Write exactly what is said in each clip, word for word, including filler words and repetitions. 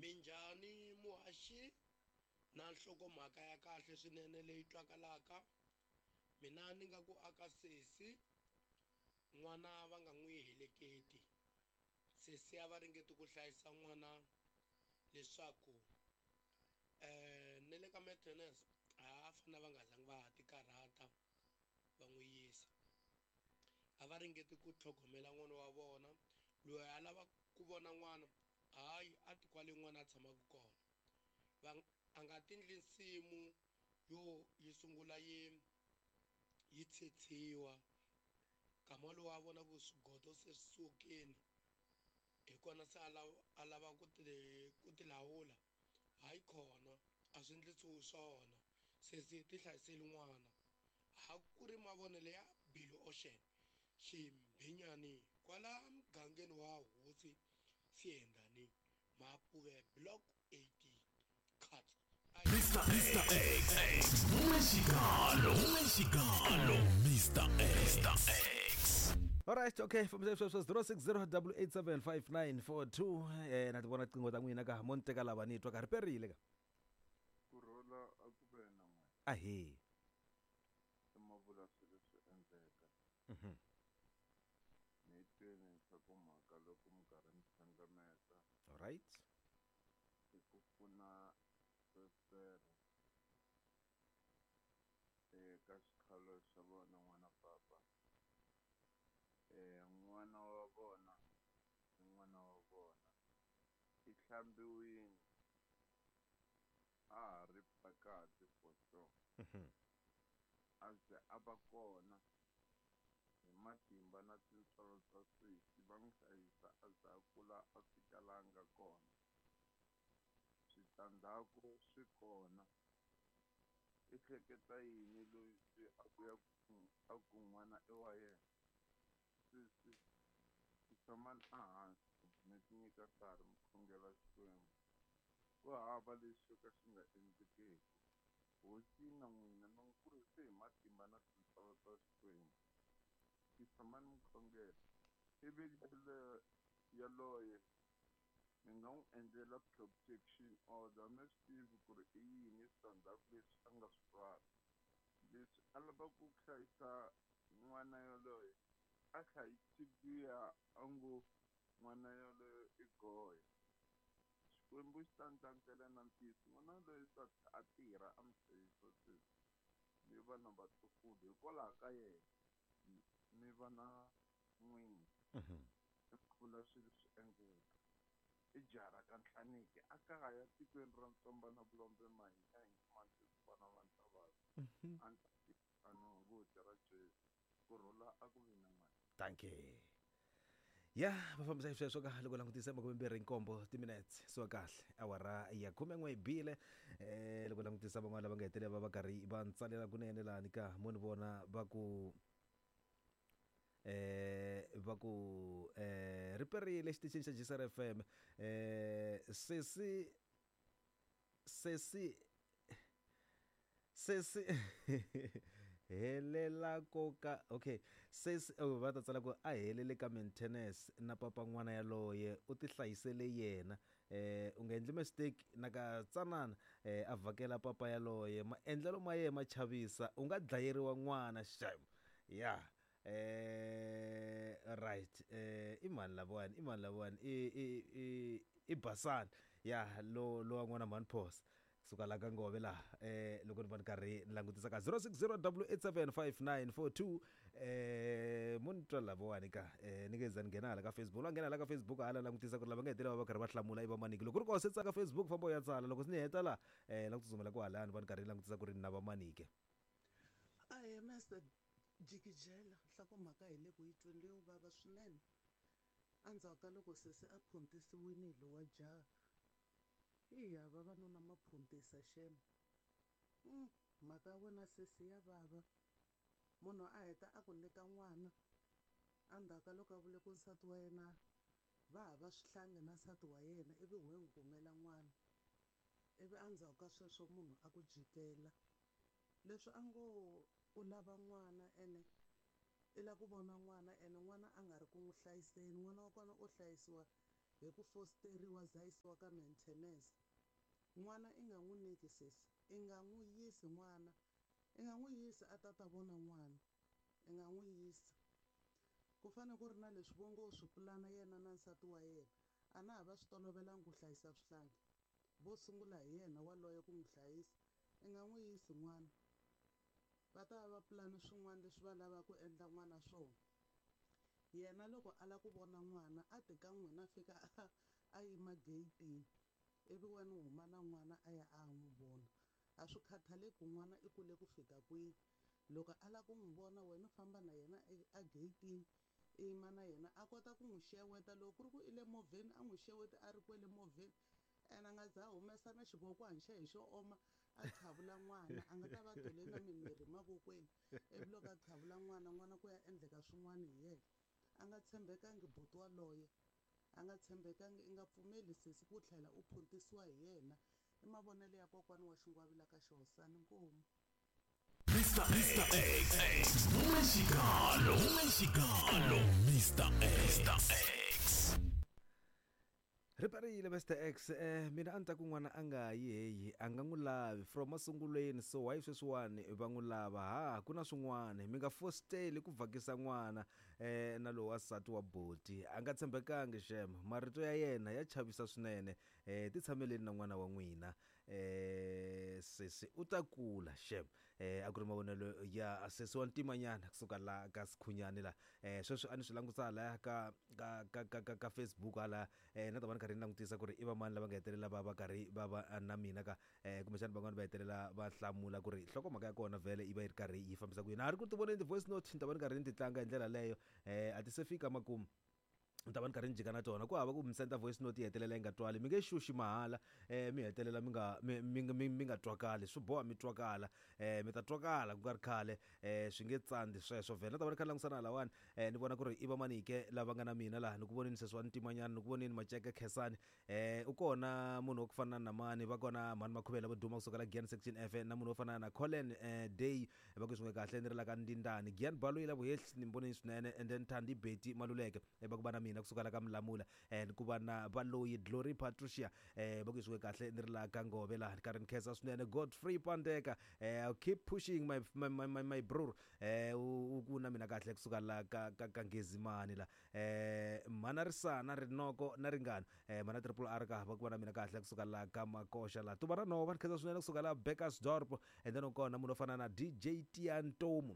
Minjhani muhaxi na nhlokomhaka ya kahle swinene leyi twakalaka mina ni nga ku aka sesi n'wana va nga n'wi heleketi sesi a va ringeti ku hlayisa n'wana leswaku um na le ka maintenance a fanele va nga zangi va ha ti karhata va n'wi yisa a va ringeti ku tlhogomela n'wana wa vona loyi a lava ku vona n'wana hayi a ti kwale n'wana a tshamaka kona va a nga tindli nsimu yo yi sungula yi yi tshetshiwa nkama lowu a vona ku swigodo se swi sukile hi kona se a lava a lava ku ti ku ti lawula hayi khona a swi endlisiwi swona sesi ti hlayiseli n'wana a ku ri mavonelo ya Billy Ocean Ximbhinyani kwala mugangeni wa hosi Siyendani Mapuve block eighteen cut. Mister X, X, Mexicano, Mexicano, Mister X, Mister X. All right, okay, from zero six zero double eight seven five nine four two. Eh, na ti vona tinqingho ta n'wina ka mo ni teka lava ni twa ka ri perile ka. Ku rhula a ku ve na n'wina. Ahee. I mavula swilo swi endleka. Mhm. Ni twini nhlokomhaka loko mi karhi mi hlanganeta. All right. I ku pfuna sesere eka xikhalo xa vona n'wana papa. Eh, n'wana wa vona i n'wana wa vona i hlambiwile a ha ri phakathi for sure. Mhm. A ze a va kona hi matimba na tintswalo ta sesi va n'wi hlayisa a ze a kula a fika laha a nga kona. Switandzhaku swi kona. I hleketa yini loyi se a vuya a ku n'wana i wa yena? Sesi tshamani ehansi mi ti nyika nkarhi mi khongela Xikwembu. Ku hava lexi xo ka xi nga endlekeki. Hosi na n'wina mi n'wi kurise hi matimba na tintswalo ta Xikwembu. Tshamani mi khongela. Ivi yaloye mi nga n'wi endlela protection order mi swi tivi ku ri i yini switandzhaku leswi a nga swi rhwala. Leswi a lavaka ku hlayisa n'wana yaloye a hlayisi luya a ngo n'wana yaloye i goya. Xikwembu xi ta ndlandlela na ntiyiso n'wana yaloye ta a tirha a mi hlayisa sweswi mi va na vatukulu hikwalaho ka yena mi va na n'wina. Mhm. I vula swilo swi endleka. I jaha ra ka Nhlaniki a kaya tikweni ra Ntsomba na Vulombe Mahikeng Mantswana va Ntavasi. A ni a ni hunguti ra Jesu. Ku rhula a ku vi na n'wina. Thank you. Ya, va fambisa hi sweswo ka loko langutisa makume mbirhi nkombo timinetse so kahle awara ya khume n'we yi bile eh loko langutisa van'wana lava nga hetelela va va karhi va ntsalela kunene lani ka mo ni vona va ku eh va ku eh ri perile xitichini xa G S R F M eh sesi sesi sesi helela koka okay sesi oh, va ta tsala ku a helele ka maintenance na papa n'wana yaloye u ti hlayisele yena eh u nga endli mistake na ka tsanana eh a vhakela papa yaloye maendlelo ma yena ma chavisa u nga dlayeriwa n'wana xem ya eh right eh i mani lavawani i mani lavawani i i i i Basani ya lo lo wa n'wana mhani phosa suka la ka Ngove laha eh loko ni va ni karhi ni langutisa ka zero six zero double eight seven five nine four two eh mo ni twa lavawani ka eh ni nge za ni nghena hala ka Facebook la nghena hala ka Facebook hala langutisa ku ri lava nga hetelela va va karhi va hlamula i va maniki loko ku ri koho se tsaka Facebook famba u ya tsala loko se ni heta la eh la ku tsutsumela kwahalani va ni karhi ni langutisa ku ri ni na va manike. Ahee Mister Jikijela nhlokomhaka hi le ku yi tweni leyo vava swinene endzhaku ka loko sesi a phuntisiwile hi lowa jaha. Iya vavanuna ma phuntisa xem. Mm, mhaka ya wena sesi ya vava. Munhu a heta a ku nyika n'wana endzhaku ka loko a vule ku nsati wa yena va hava swihlangi na nsati wa yena ivi we n'wi kumela n'wana. Ivi endzhaku ka sweswo munhu a ku jikela. Leswi a ngo u lava n'wana ene i lava ku vona n'wana ene n'wana a nga ri ku n'wi hlayiseni n'wana wa kona u hlayisiwa hi ku fosteriwa za yisiwa ka maintenance. N'wana i nga n'wi nyiki sesi, i nga n'wi yisi n'wana, i nga n'wi yisi a ta ta vona n'wana, i nga n'wi yisi. Ku fanele ku ri na leswi vo ngo swi pulana yena na nsati wa yena, a na ha va swi tolovelangi ku hlayisa swihlangi, vo sungula hi yena waloye ku n'wi hlayisa, i nga n'wi yisi n'wana. Va ta va va pulani swin'wana leswi va lavaka ku endla n'wana swona. Yena loko a lava ku vona n'wana a ti ka n'wina a fika a a yima geyitini ivi wena u huma na n'wana a ya a ya n'wi vona. A swi khathaleki ku n'wana i kule ku fika kwihi, loko a lava ku n'wi vona wena u famba na yena a geyitini i yima na yena a kota ku n'wi xeweta. Loko ku ri ku i le movheni a n'wi xeweti a ri kwele movheni, ene a nga za a humesa na xivokwani xa hi xo oma a qhavula n'wana, a nga ta va tole na mimirhi mavokweni ivi loko a qhavula n'wana n'wana ku ya endleka swin'wana hi yena. A nga tshembekangi buti waloye, a nga tshembekangi. I nga pfumeli sesi ku tlhela u phuntisiwa hi yena. I mavonelo ya kokwani wa Xingwavila ka Xihosana. Inkomu. Mister X, Mexicano, Mexicano, Mister X. Ri perile Mister X. Eh, mina a ni ta ku n'wana a nga yi heyi, a nga n'wi lavi from masungulweni, so why sweswiwani va n'wi lava? Ha ku na swin'wana, mi nga fositeli ku vhakisa n'wana eh, na lowu wansati wa boti a nga tshembekangi xem, marito ya yena ya chavisa swinene. Eh, ti tshameleni na n'wana wa n'wina eh, sesi u ta kula xem. Eh, a ku ri mavonelo ya sesi wa ntimanyana kusuka la ka Sikhunyani la. Eh, sweswi a ni swi langutisa hala ka ka ka ka ka, ka Facebook hala eh, na ta va ni karhi ni langutisa ku ri i vamani lava nga hetelela va va karhi va va na mina ka eh, kumbexana van'wani va hetelela va hlamula ku ri nhlokomhaka ya kona vhele yi va yi ri karhi yi fambisa ku yini. A ri ku ti voneni ti-voice note, ni ta va ni karhi ni ti tlanga hi ndlela leyo eh, a ti se fika makumu, ni ta va ni karhi ni jika na tona. Ku hava ku mi senda voice note yi hetelela yi nga twali, mi nge xuxi mahala eh, mi hetelela mi nga mi mi mi mi nga twakali, swi boha mi twakala eh, mi ta twakala ku nga ri khale eh, swi nge tsandzi sweswo vhele. Na ta va ni kha ni langutisa na halawani eh, ni vona ku ri i vamani ke lava nga na mina laha. Ni ku voneni sesi wa ntimanyana, ni ku voneni Maceke Khensani eh, u kona munhu wa ku fana na mani, va kona mhani Makhuvela vo duma kusuka la Giyani section F, na munhu wo fana na Colin eh, Day va ku swin'we kahle ni ri la ka Ndindani Giyani Baloyi la Vuhehli ni voneni swinene, and then Thandi Betty Maluleke eh, va ku va na mina kusuka la ka Mlamula eh, ku va na Baloyi Glory Patricia eh, va ku swin'we kahle ni ri la ka Ngove laha karhi ni khensa swinene. Godfrey Pandeka eh, keep pushing my my my, my, my bro eh, u ku na mina kahle kusuka la ka ka, ka Ngezimani la eh, mhana Risana Rinoko na Ringana eh, mhana Triple R ka va ku va na mina kahle kusuka la ka Makosha la Tuva ra Nhova ni khensa swinene kusuka la Bekkersdorp, and then kona munhu wo fana na D J Tiantomu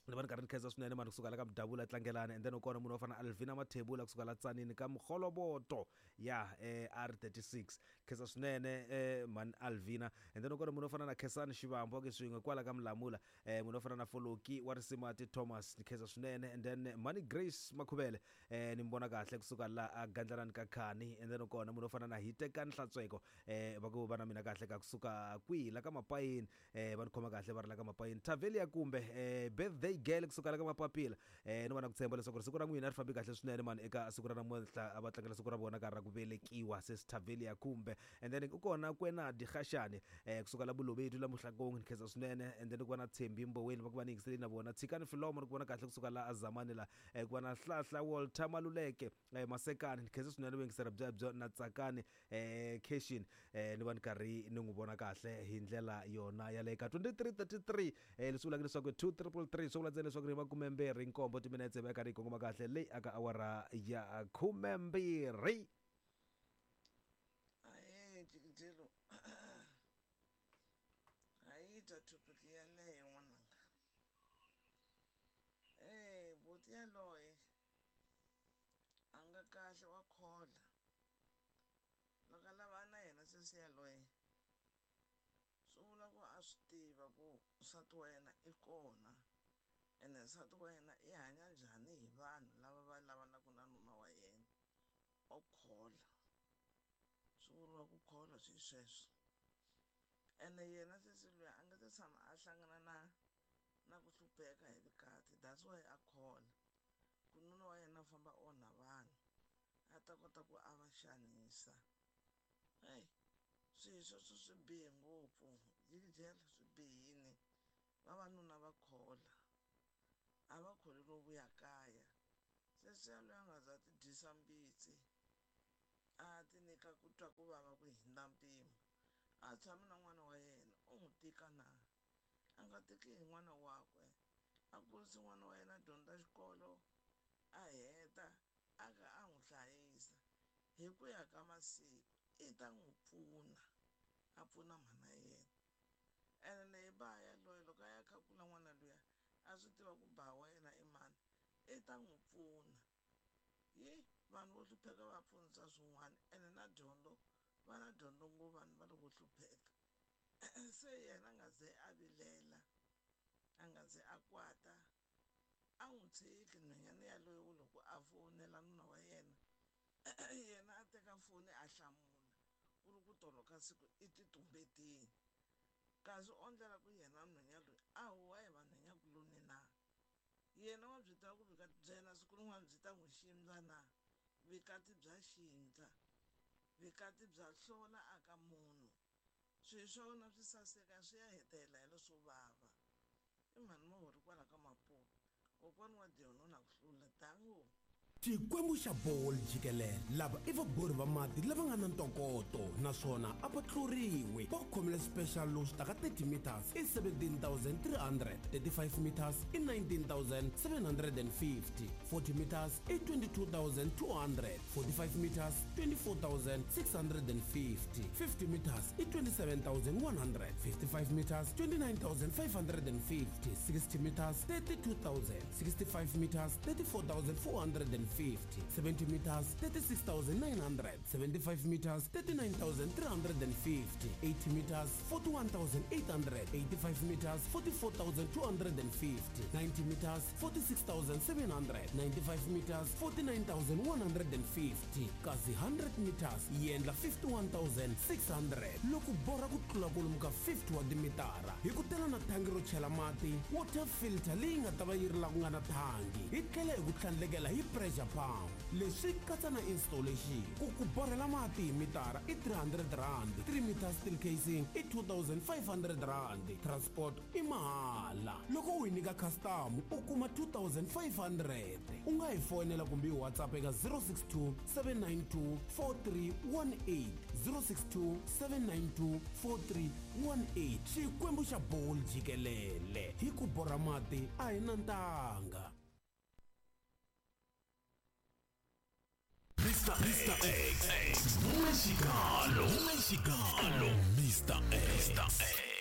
ni va ni karhi ni khensa swinene mani kusuka la ka Mdavula Tlangelani, and then kona munhu wo fana Alvina Mathebula kusuka la Tsanini ka Mkholoboto ya eh, R thirty-six khensa swinene eh, mani Alvina, and then kona munhu wo fana na Khensani Xivambo ke swin'we kwala ka Mlamula eh, munhu wo fana na Foloki wa Risimati Thomas ni khensa swinene, and then mani Grace Makhuvele eh, ni mbona kahle kusuka la a Gandlalani ka Khani, and then kona munhu wo fana na Hitekani Hlantsweko eh, va ku va na mina kahle ka kusuka kwihi la ka Mapayini eh, va ni khoma kahle va ri la ka Mapayini. Tavelia kumbe eh, birthday girl kusuka la ka Mapapila eh, ni va na ku tshemba leswaku siku ra n'wina ri fambi kahle swinene mani eka siku ra namuntlha a va tlangela siku ra vona ka ra ku velekiwa sesi Tavelia kumbe, and then u kona Kwenadi Khashani eh, kusuka la Bolobedu la Muhlakong ni khensa swinene, and then ku va na Thembi Mboweni va ku va ni yingiseleni na vona Tshikani Filomo ni ku vona kahle kusuka la Azamani la eh, ku va na Hlahla Walter Maluleke eh, Masekani ni khensa swinene vuyingiseri byebyo na Tsakani eh, Keshin eh, ni va ni karhi ni n'wi vona kahle hi ndlela yona yaleyo ka twenty-three thirty-three eh, leswi vulaka leswaku two triple three swi vula ntsena leswaku ri makumembirhi nkombo timinetse va karhi yi kongoma kahle leyi aka awara ya khumembirhi. Ahee Jikijelo, ha yi twa topic yaleyo n'wananga. Eh, buti yaloye a nga kahle wa khola, loko a lava na yena sesi yaloye swi vula ku a swi tiva ku nsati wa yena i kona, ene nsati wa yena i hanya njhani hi vanhu lava va lavanaka na nuna wa yena. O khola, swi vuriwa ku khola swi sweswo. Ene yena sesi luya a nga se tshama a hlangana na na ku hlupheka hi vukati, that's why a khola ku nuna wa yena a famba onha vanhu a ta kota ku a va xanisa. Hey, swilo sweswo swi bihe ngopfu, Jikijela swi bihini. Vavanuna va khola, a va kholi no vuya kaya. Sesi yaloye a nga za ti dyisa mbitsi a ti nyika ku twa ku vava ku hundza mpimo a tshami na n'wana wa yena u n'wi tika na a nga tiki hi n'wana wakwe a kurisi n'wana wa yena a dyondza xikolo a heta a ka a n'wi hlayisa hi ku ya ka masiku i ta n'wi pfuna a pfuna mhana yena ene leyi ba yaloye loko a ya khakula n'wana luya a swi tiva ku ba wa yena i mani i ta n'wi pfuna yi vanhu vo hlupheka va pfunisa swin'wana ene na dyondzo va na dyondzo ngopfu vanhu va loko hlupheka se yena a nga ze a vilela a nga ze a kwata a n'wi tshiki nhwanyana yaloye ku loko a fonela nuna wa yena yena a teka foni a hlamula ku ri ku tolo ka siku i ti tumbetini kasi o ndlela ku yena nhwanya loyi a huwa hi vanhwanyakuloni na yena wa byi tiva ku vukati bya yena siku rin'wana byi ta n'wi xindza na vukati bya xindza vukati bya hlola aka munhu swilo swa wena swi saseka swi ya hetelela hi leswo vava i mhani mahori kwala ka Maputo kokwani wa Dion na ku hlula dango. Xikwembu xa bolo jikelele lava i vabori va mati lava nga na ntokoto naswona a va tluriwi va khomile special lowu swi taka thirty meters i seventeen thousand three hundred thirty-five meters i nineteen thousand seven hundred and fifty forty meters i twenty-two thousand two hundred forty-five meters twenty-four thousand six hundred and fifty fifty meters i twenty-seven thousand one hundred fifty-five meters twenty-nine thousand five hundred and fifty sixty meters thirty-two thousand sixty-five meters thirty-four thousand four hundred and fifty seventy meters thirty-six thousand nine hundred seventy-five meters thirty-nine thousand three hundred and fifty eighty meters forty-one thousand eight hundred eighty-five meters forty-four thousand two hundred and fifty ninety meters forty-six thousand seven hundred ninety-five meters forty-nine thousand one hundred and fifty kasi hundred meters yi endla fifty-one thousand six hundred loko borha ku tlula kwalomu ka fifty wa timitara hi ku tela na thangi ro chela mati water filter leyi nga ta va yi ri la ku nga na thangi hi tlhela hi ku tlhandlekela hi pressure pump leswi katsa na installation ku ku borhela mati hi mitara i three hundred rand three meters steel casing i two thousand five hundred rand transport i mahala loko u hi nyika custom u kuma two thousand five hundred u nga hi fonela kumbe hi WhatsApp eka zero six two seven nine two four three one eight zero six two seven nine two four three one eight Xikwembu xa bolo jikelele hi ku borha mati a hi na ntanga. Mister Mister X, X, Mexicano, Mexicano, Mister X, Mister X.